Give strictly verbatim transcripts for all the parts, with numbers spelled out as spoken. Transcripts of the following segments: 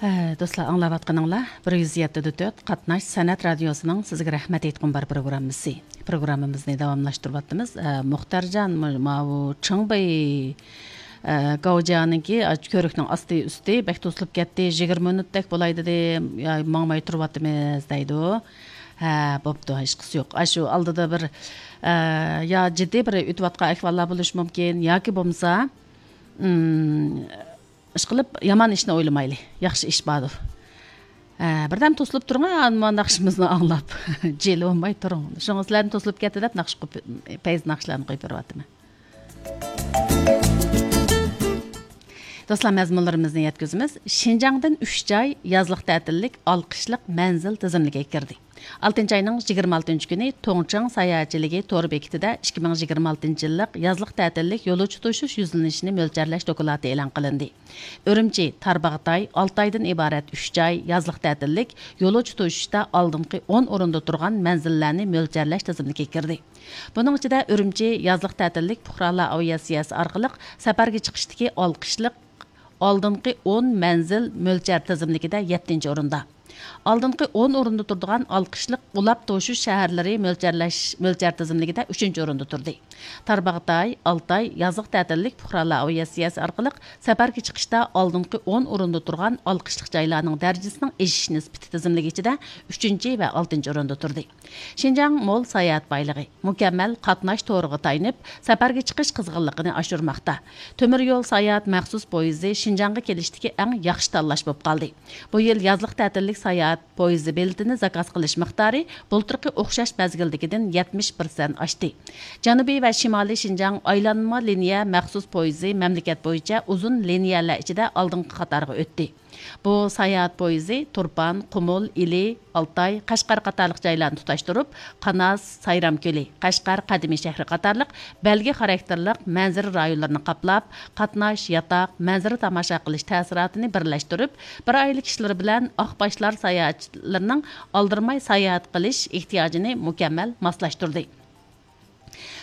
ئە، دوستلار، ئاڭلاۋاتقىنىڭلار بىر يۈز يەتتە دە تۆت قاتناش سەنئەت رادىيوسىنىڭ سىزگە رەھمەت ئېيتقۇم بار پروگراممىسى. پروگراممىمىزنى داۋاملاشتۇرۇۋاتىمىز. ئە، مۇختەرجان، مۇ-، ماۋۇ چىڭبېي، ئە، گاۋجيانىڭكى، ئە، كۆۋرۈكنىڭ ئاستى ئۈستى بەك توسۇلۇپ كەتتى، يىگىرمە مىنۇتتەك بولاي دېدى، يا، ماڭماي تۇرۇۋاتىمىز دەيدۇ. ھە، بوپتۇ، ھېچقىسى يوق. ئاشۇ ئالدىدا بىر، ئە، يا جىددىي بىر ئۆتۈۋاتقان ئەھۋاللار بولۇشى مۇمكىن، ياكى بولمىسا، ئىم، ئىشقىلىپ، يامان ئىشنى ئويلىمايلى، ياخشى ئىش باردۇر. ھە، بىردەم توسۇلۇپ تۇرۇڭ، ھە، مانا ناخشىمىزنى ئاڭلاپ. جىلە بولماي تۇرۇڭ. شۇڭا سىلەرنى توسۇلۇپ كەتتى دەپ ناخشا قويۇپ، پەيز ناخشىلارنى قويۇپ بېرىۋاتىمەن. دوستلار، مەزمۇنلىرىمىزنى يەتكۈزىمىز. شىنجاڭدىن ئۈچ جاي يازلىق تەتىللىك ئالقىشلىق مەنزىل تىزىملىكىگە كىردى. ئالتىنچى ئاينىڭ يىگىرمە ئالتىنچى كۈنى تۇڭچىڭ ساياھەتچىلىكى تور بېكىتىدە ئىككى مىڭ يىگىرمە ئالتىنچى يىللىق يازلىق تەتىللىك يولۇچى توشۇش يۈزلىنىشىنى مۆلچەرلەش دوكلاتى ئېلان قىلىندى. ئۈرۈمچى، تارباغاتاي، ئالتايدىن ئىبارەت ئۈچ جاي يازلىق تەتىللىك يولۇچى توشۇشتا ئالدىنقى ئون ئورۇندا تۇرغان مەنزىللەرنى مۆلچەرلەش تىزىملىكىگە كىردى. بۇنىڭ ئىچىدە ئۈرۈمچى يازلىق تەتىللىك پۇقرالار ئاۋىئاتسىيەسى ئارقىلىق سەپەرگە چىقىشتىكى ئالقىشلىق ئالدىنقى ئون مەنزىل مۆلچەر تىزىملىكىدە يەتتىنچى ئورۇندا. ئالدىنقى ئون ئورۇندا تۇرىدىغان ئالقىشلىق ئۇلاپ توشۇش شەھەرلىرى مۆلچەرلەش، مۆلچەر تىزىملىكىدە ئۈچىنچى ئورۇندا تۇردى. تارباغاتاي، ئالتاي يازلىق تەتىللىك پۇقرالار ئاۋىئاتسىيەسى ئارقىلىق سەپەرگە چىقىشتا ئالدىنقى ئون ئورۇندا تۇرغان ئالقىشلىق جايلارنىڭ دەرىجىسىنىڭ ئېشىش نىسبىتى تىزىملىكى ئىچىدە ئۈچىنچى ۋە ئالتىنچى ئورۇندا تۇردى. شىنجاڭ مول ساياھەت بايلىقى، مۇكەممەل قاتناش تورىغا تايىنىپ، سەپەرگە چىقىش قىزغىنلىقىنى ئاشۇرماقتا. تۆمۈر يول ساياھەت مەخسۇس پويىزى شىنجاڭغا كېلىشتىكى ئەڭ ياخشى تاللاش بولۇپ قالدى. بۇ يىل يازلىق تەتىللىك ساياھەت پويىزى بېلىتىنى زاكاز قىلىش مىقدارى بۇلتۇرقى ئوخشاش مەزگىلدىكىدىن يەتمىش پىرسەنت ئاشتى. جەنۇبىي ۋە شىمالىي شىنجاڭ ئايلانما لىنىيە مەخسۇس پويىزى مەملىكەت بويىچە ئۇزۇن لىنىيەلەر ئىچىدە ئالدىنقى قاتارغا ئۆتتى. بۇ ساياھەت پويىزى تۇرپان، قۇمۇل، ئىلى، ئالتاي، قەشقەر قاتارلىق جايلارنى تۇتاشتۇرۇپ، قاناس، سايرام كۆلى، قەشقەر قەدىمىي شەھىرى قاتارلىق بەلگە خاراكتېرلىق مەنزىرە رايونلىرىنى قاپلاپ، قاتناش، ياتاق، مەنزىرە تاماشا قىلىش تەسىراتىنى بىرلەشتۈرۈپ، بىر ئائىلە كىشىلىرى بىلەن ئاق باشلار ساياھەتچىلىرىنىڭ ئالدىرىماي ساياھەت قىلىش ئېھتىياجىنى مۇكەممەل ماسلاشتۇردى.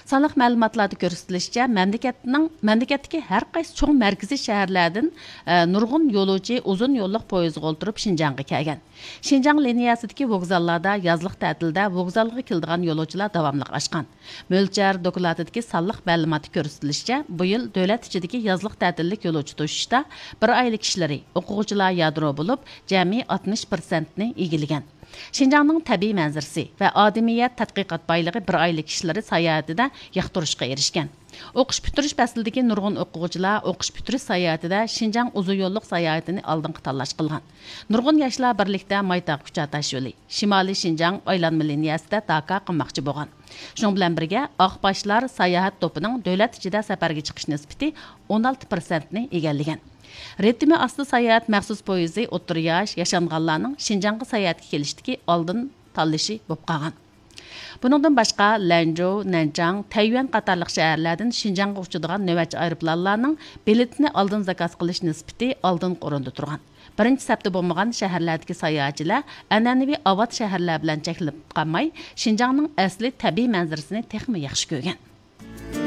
سانلىق مەلۇماتلاردا كۆرسىتىلىشىچە، مەملىكەتنىڭ، مەملىكەتتىكى ھەر قايسى چوڭ مەركىزىي شەھەرلەردىن، ئە، نۇرغۇن يولۇچى ئۇزۇن يوللۇق پويىزغا ئولتۇرۇپ شىنجاڭغا كەلگەن. شىنجاڭ لىنىيەسىدىكى ۋوگزاللاردا يازلىق تەتىلدە ۋوگزالغا كېلىدىغان يولۇچىلار داۋاملىق ئاشقان. مۆلچەر دوكلاتىدىكى سانلىق مەلۇماتتا كۆرسىتىلىشىچە، بۇ يىل دۆلەت ئىچىدىكى يازلىق تەتىللىك يولۇچى توشۇشتا بىر ئائىلە كىشىلىرى، ئوقۇغۇچىلار يادرو بولۇپ، جەمئىي ئاتمىش پىرسەنتنى ئىگىلىگەن. شىنجاڭنىڭ تەبىئىي مەنزىرىسى ۋە ئادىمىيەت تەتقىقات بايلىقى بىر ئائىلە كىشىلىرى ساياھىتىدە ياقتۇرۇشقا ئېرىشكەن. ئوقۇش پۈتتۈرۈش پەسلىدىكى نۇرغۇن ئوقۇغۇچىلار ئوقۇش پۈتتۈرۈش ساياھىتىدە شىنجاڭ ئۇزۇن يوللۇق ساياھىتىنى ئالدىنقى تاللاش قىلغان. نۇرغۇن ياشلار بىرلىكتە مايتاغ كۇچا تاشيولى، شىمالىي شىنجاڭ ئايلانما لىنىيەسىدە داكا قىلماقچى بولغان. شۇنىڭ بىلەن بىرگە، ئاق باشلار ساياھەت توپىنىڭ دۆلەت ئىچىدە سەپەرگە چىقىش نىسبىتى ئون ئالتە پىرسەنتنى ئىگىلىگەن. رىتىمى ئاستا ساياھەت مەخسۇس پويىزى ئوتتۇرا ياش، ياشانغانلارنىڭ شىنجاڭغا ساياھەتكە كېلىشتىكى ئالدىن تاللىشى بولۇپ قالغان. بۇنىڭدىن باشقا، لەنجۇ، نەنچاڭ، تەييۈەن قاتارلىق شەھەرلەردىن شىنجاڭغا ئۇچىدىغان نۆۋەتچى ئايروپىلانلارنىڭ بېلىتىنى ئالدىن زاكاز قىلىش نىسبىتى ئالدىنقى ئورۇندا تۇرغان. بىرىنچى سەپتە بولمىغان شەھەرلەردىكى ساياھەتچىلەر ئەنئەنىۋى ئاۋات شەھەرلەر بىلەن چەكلىنىپ قالماي، شىنجاڭنىڭ ئەسلى تەبىئىي مەنزىرىسىنى تېخىمۇ ياخشى كۆرگەن.